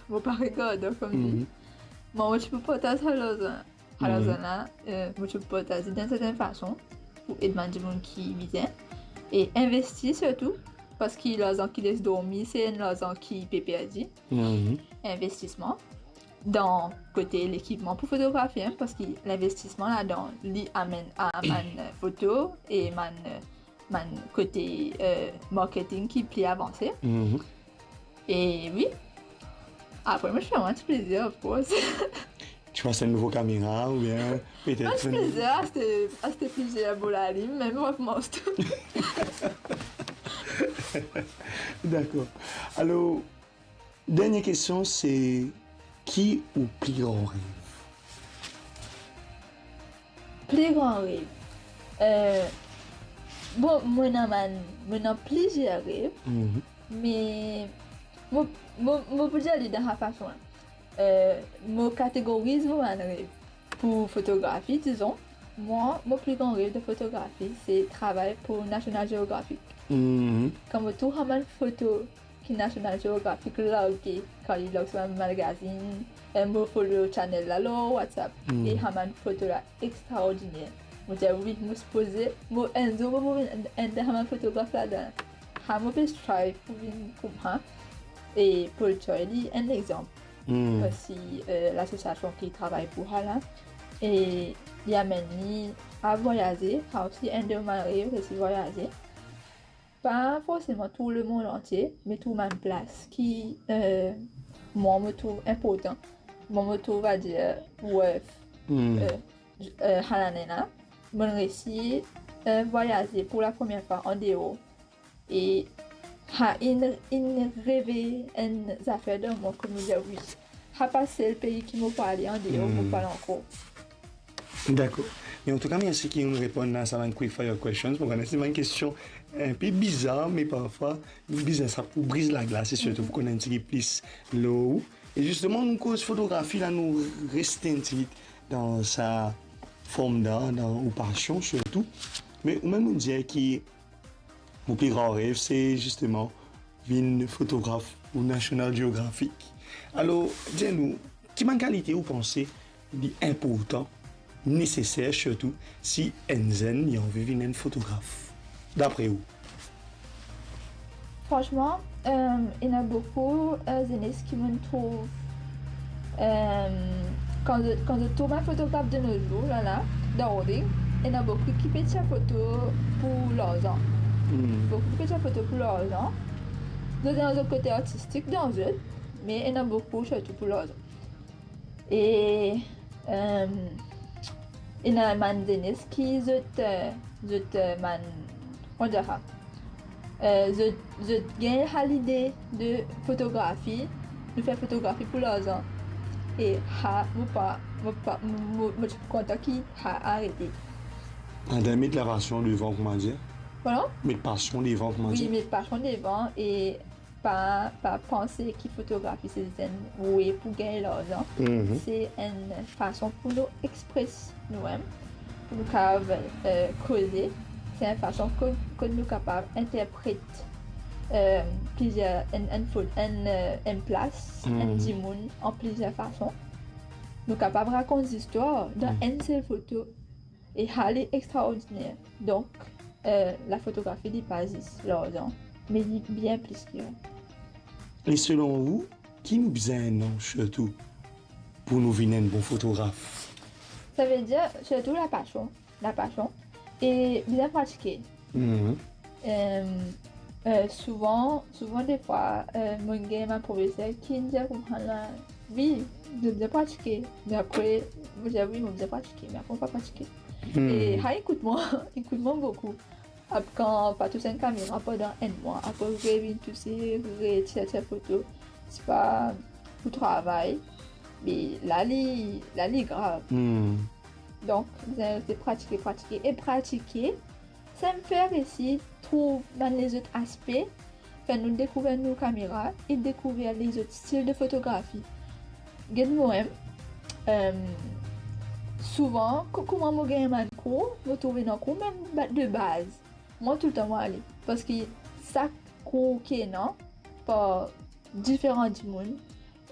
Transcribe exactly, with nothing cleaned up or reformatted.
mo pa regardan, kouma dir. Mhm. Mo, mo ti pou partaz sa larzan. Sa larzan la, euh, mo ti pou partaz li dan sertin fason pou ed bann dimoun ki bizin. E investi sirtou, parski larzan ki les dormi, se enn larzan ki pe perdi. Mhm. Investisman dan kote lekipman pou fotografi, hein, parski linvestisman ladan, li amenn a bann foto e bann, bann kote, euh, marketing ki pli avanse. Mhm. E wi, apre, mo ti fer mwa ti plezir, of course. Ti aste enn nouvo kamera oubien petet... Ah, ti plezir, aste, aste plizier bo lalim, mem, mo ti aste. Dakor. Alor, dernie kestion, se ki ou pli gran rev? Pli gran rev. Euh, bon, mo ena bann, mo ena plizier rev, mhm, me mo, mo, mo pou dir li dan sa fason la. Euh, mo kategoriz mo bann rev. Pou fotografi, dizon, mwa, mo pli gran rev de fotografi, se travay pou National Geographic. Mhm. Kan mo trouv sa bann foto ki National Geographic large, kan li larg sa bann magazin, eh, mo follow channel la lor WhatsApp, mm, e sa bann foto la extraordiner. Mo dir, wi, mo sipoze, mo, enn zour, mo pou vinn enn, enn dan sa bann fotograf ladan. Sa mo pe strive pou vinn kouma sa. E Paul Troy, li enn lexanp. Hmm. Osi, euh, lasosiasion ki travay pou sa la. E li amenn li a vwayaze, sa osi enn de mo rev, se vwayaze. Pa forseman tour lemond antie, me tour bann plas ki, euh, mwa, mo trouv inportan. Mwa, mo trouv, va dir, worth, hmm, euh, euh, sa lane la. Mo resi, euh, vwayaze pou lapremier fwa andeor. E sa inn, inn revey enn zafer dan mwa, kouma dir, wi, sa pa sel pei ki mo pou ale, andeor mo pou al ankor. Dakor. Me antouka, mersi ki ou'nn reponn a sa bann quick fire questions. Mo kone se bann kestion inpe bizar, me parfwa bizin sa pou briz laglas e sirtou pou konn enn tigit plis lor ou. E zisteman, nou koz fotografi la, nou reste enn tigit dan sa form d'art, dan ou pasion sirtou. Me ou mem ou dir ki mo pli gran rev, se zisteman vinn fotograf pou National Geographic. Alor, dir nou, ki bann kalite ou panse li inportan, neseser sirtou, si enn zenn li anvi vinn enn fotograf, dapre ou? Fransman, euh, ena boukou, euh, zenes ki mo'nn trouv, euh, kan zot, kan zot trouv bann fotograf de nos jours, la, la, dan Rodrig, ena boukou ki pe tir foto pou larzan. Hmm. Boukou ki pe tir foto pou larzan. Zot ena zot kote artistik dan zot, me ena boukou sirtou pou larzan. E, euh, ena bann zenes ki zot, euh, zot, euh, bann, kouma dir sa, euh, zot, zot gagn sa lide de fotografi, nou fer fotografi pou larzan. E sa, mo pa, mo pa, mo, mo, mo ti pou kontan ki sa arete. Adan met lapasion devan, kouma dir? Pardon? Met pasion devan, kouma dir? Wi, met pasion devan e pa, pa panse ki fotografi se zis enn we pou gagn larzan. Mhm. Se enn fason pou nou expres noumem, pou nou kapav, euh, koze. Se enn fason kot, kot nou kapav interpret, euh, plizier, enn, enn fot-, enn, euh, enn plas, enn, mhm, dimoun an plizier fason. Nou kapav rakont zistwar dan, mhm, enn sel foto. E sa li extraordiner. Donk, euh, lafotografi, li pa zis larzan, me li bien plis ki sa. E selon ou, ki nou bizin ena sirtou pou nou vinn enn bon fotograf? Savedir sirtou lapasion, lapasion e bizin pratike. Mhm. Euh, euh, souvan, souvan defwa, euh, mo gagn bann profeser ki dir koumsa la, wi, mo bizin pratike, me apre, mo dir, wi, mo bizin pratike, me apre mo pa pratike. Hmm. E sa inn kout mwa, inn kout mwa boukou. Ap-, kan pa tous enn kamera pandan enn mwa, apre revinn touse, retir, tir foto, se pa pou travay, me la li, la li grav. Hmm. Donk, bizin reste pratike, pratike e pratike. Sa inn fer osi trouv bann lezot aspe, fer nou dekouver nou kamera e dekouver lezot stil de fotografi. Get mwa, euh, souvan, ko-, kouma mo gagn bann kour, mo trouve ena kour mem ba-, de baz. Mwa toultan mo ale, parski sak kour ki ena par diferan dimoun,